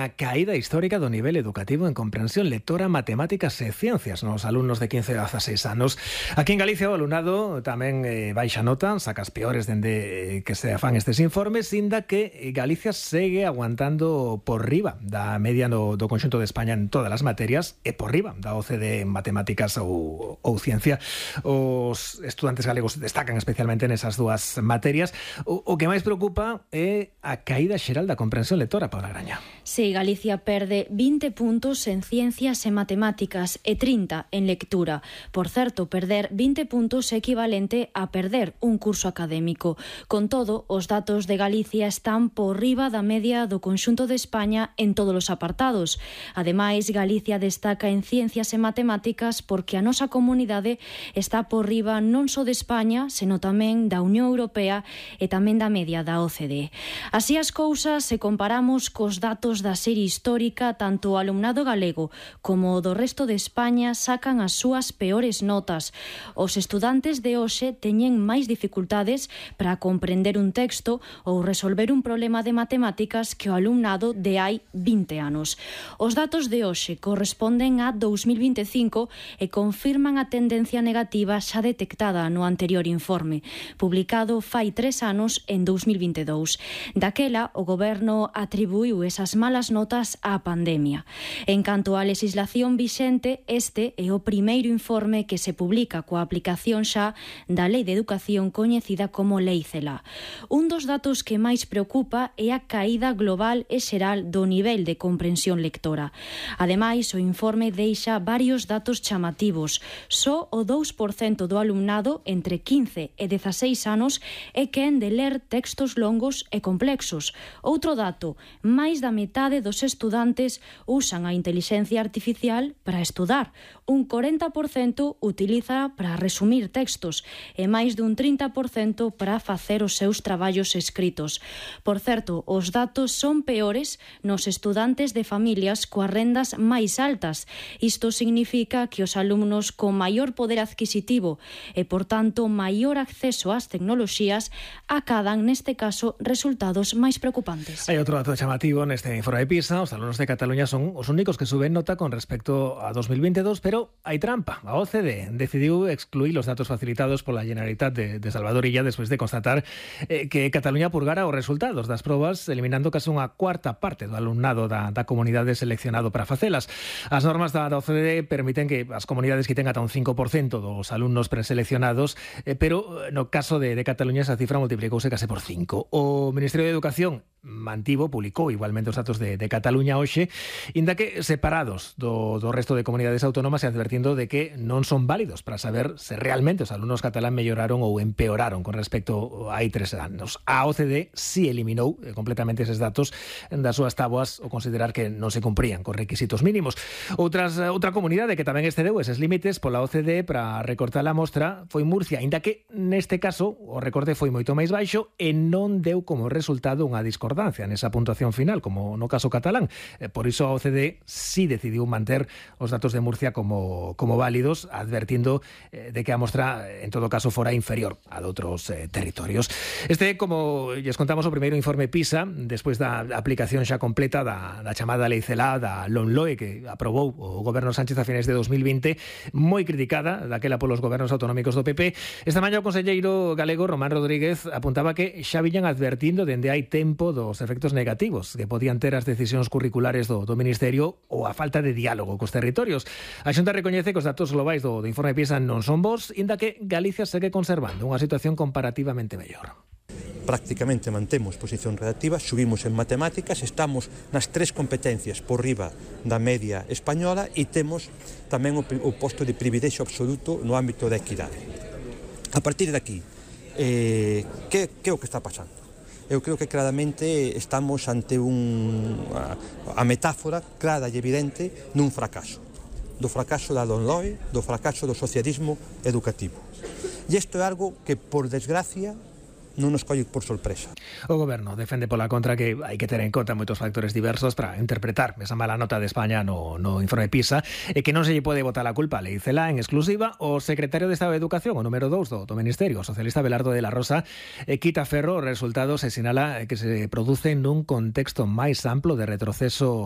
A caída histórica do nivel educativo en comprensión lectora, matemáticas e ciencias nos alumnos de 15 a 16 anos. Aquí en Galicia o alumnado tamén baixa nota, saca as peores dende que se afan estes informes, inda que Galicia segue aguantando por riba da media do conxunto de España en todas as materias e por riba da OCDE en matemáticas ou ciencia. Os estudantes galegos destacan especialmente nesas dúas materias. O que máis preocupa é a caída xeral da comprensión lectora, Paula Graña. Sí, Galicia perde 20 puntos en ciencias e matemáticas e 30 en lectura. Por certo, perder 20 puntos é equivalente a perder un curso académico. Con todo, os datos de Galicia están por riba da media do conxunto de España en todos os apartados. Ademais, Galicia destaca en ciencias e matemáticas porque a nosa comunidade está por riba non só de España, senón tamén da Unión Europea e tamén da media da OCDE. Así as cousas, se comparamos cos datos da serie histórica, tanto o alumnado galego como o do resto de España sacan as súas peores notas. Os estudantes de hoxe teñen máis dificultades para comprender un texto ou resolver un problema de matemáticas que o alumnado de hai 20 anos. Os datos de hoxe corresponden a 2025 e confirman a tendencia negativa xa detectada no anterior informe, publicado fai 3 anos en 2022. Daquela, o goberno atribuiu esas malas notas á pandemia. En canto á legislación vixente, este é o primeiro informe que se publica coa aplicación xa da Lei de Educación coñecida como Lei CELA. Un dos datos que máis preocupa é a caída global e xeral do nivel de comprensión lectora. Ademais, o informe deixa varios datos chamativos. Só o 2% do alumnado entre 15 e 16 anos é quen de ler textos longos e complexos. Outro dato, máis da metade dos estudantes usan a intelixencia artificial para estudar. Un 40% utiliza para resumir textos e máis dun 30% para facer os seus traballos escritos. Por certo, os datos son peores nos estudantes de familias coas rendas máis altas. Isto significa que os alumnos con maior poder adquisitivo e, por tanto, maior acceso ás tecnoloxías acadan, neste caso, resultados máis preocupantes. Hai outro dato chamativo neste informe de PISA. Os alumnos de Cataluña son os únicos que suben nota con respecto a 2022, pero hai trampa. A OCDE decidiu excluir os datos facilitados pola Generalitat de Salvador Illa despois de constatar que Cataluña purgara os resultados das probas, eliminando case unha cuarta parte do alumnado da comunidade seleccionado para facelas. As normas da OCDE permiten que as comunidades quiten ata un 5% dos alumnos preseleccionados, pero no caso de Cataluña esa cifra multiplicouse case por 5. O Ministerio de Educación publicou igualmente os datos de Cataluña hoxe, inda que separados do resto de comunidades autónomas e advertindo de que non son válidos para saber se realmente os alumnos catalán melloraron ou empeoraron con respecto a hai 3 anos. A OCDE si eliminou completamente eses datos das súas táboas ao considerar que non se cumprían con requisitos mínimos. Outra comunidade que tamén excedeu eses límites pola OCDE para recortar a mostra foi Murcia, inda que neste caso o recorte foi moito máis baixo e non deu como resultado unha discordancia nesa puntuación final, como no caso catalán. Por iso a OCDE sí decidiu manter os datos de Murcia como válidos, advertindo de que a mostra, en todo caso, fora inferior a de outros territorios. Este, como lles contamos, o primeiro informe PISA, despois da aplicación xa completa da chamada Lei CELA, da LOMLOE, que aprobou o goberno Sánchez a finais de 2020, moi criticada daquela polos gobernos autonómicos do PP. Esta mañá o conselleiro galego Román Rodríguez apuntaba que xa viñan advertindo dende hai tempo dos efectos negativos que podían ter as decisións curriculares do Ministerio ou a falta de diálogo cos territorios. A Xunta recoñece que os datos globais do informe PISA non son bons, inda que Galicia segue conservando unha situación comparativamente mellor. Prácticamente mantemos posición relativa, subimos en matemáticas, estamos nas 3 competencias por riba da media española e temos tamén o posto de privilexio absoluto no ámbito da equidade. A partir de aquí, que é o que está pasando? Eu creo que claramente estamos ante a metáfora clara e evidente dun fracaso. Do fracaso da LOMLOE, do fracaso do socialismo educativo. E isto é algo que, por desgracia, non nos colle por sorpresa. O goberno defende pola contra que hai que ter en conta moitos factores diversos para interpretar esa mala nota de España no informe PISA e que non se lle pode botar a culpa a Lei CELA en exclusiva. O secretario de Estado de Educación, o número 2 do Ministerio, o socialista Belardo de la Rosa, quita ferro os resultados e sinala que se producen nun contexto máis amplo de retroceso